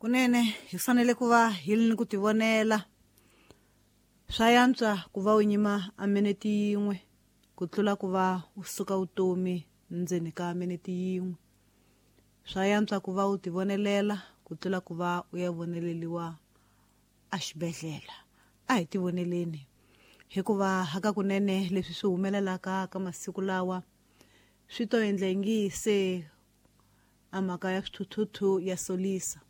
Kunene hi fanele ku va hi ri ni ku tivonela. Swa yantswa ku va u nyima a minete yin'we ku tlula ku va u suka vutomi ndzeni ka minete yin'we. Swa yantswa ku va u tivonelela ku tlula ku va u ya voneleriwa exibedhlele. A hi tivoneleni hikuva hakakunene leswi swi humelelaka ka masiku lawa swi to endla ingi se a mhaka ya swithuthuthu ya solisa.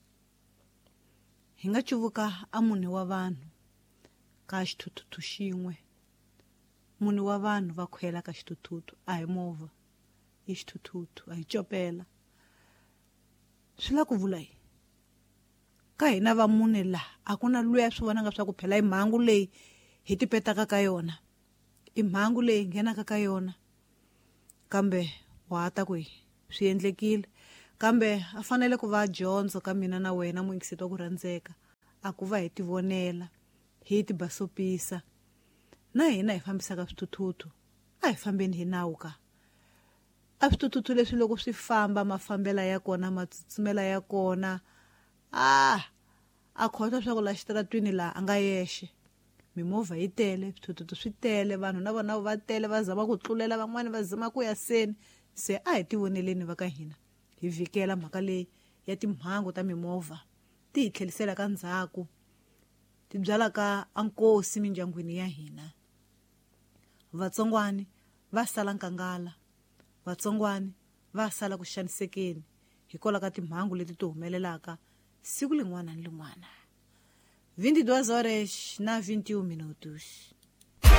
Hi nga cuvuka a mune wa vanhu ka xithuthuthu xin'we. Mune wa vanhu va khwela ka xithuthuthu, a hi movha, i xithuthuthu, a hi copela. Swi la ku vula yini? Ka hina va mune la, a ku na luya swi vonaka swa ku phela i mhangu leyi hi tipetaka ka yona. I mhangu leyi nghenaka ka yona. Kambe wa ha ta ku yi swi endlekile. Kambe a fanele ku va dyondzo ka mina na wena muyingiseti wa ku rhandzeka, a ku va hi tivonela, hi tibasopisa. Na hina hi fambisaka swithuthuthu, a hi fambeni hi nawu ka. A swithuthuthu leswi loko swi famba mafambela ya kona, matsutsumela ya kona, a a khohlwa swa ku la xitaratwini laha a nga yexe. Mimovha yi tele, swithuthuthu swi tele, vanhu na vona va tele va zama ku tlulela van'wani va zama ku ya seni. Se a hi tivoneleni va ka hina, hi vhikela mhaka leyi ya timhangu ta mimovha ti hi tlheliselaka ndzhaku, ti byalaka a nkosi mindyangwini ya hina. Vatsongwani va sala nkangala, vatsongwani va sala ku xanisekeni hikwalaho ka timhangu leti ti humelelaka siku lin'wana ni lin'wana. 22 horas na 21 minutos.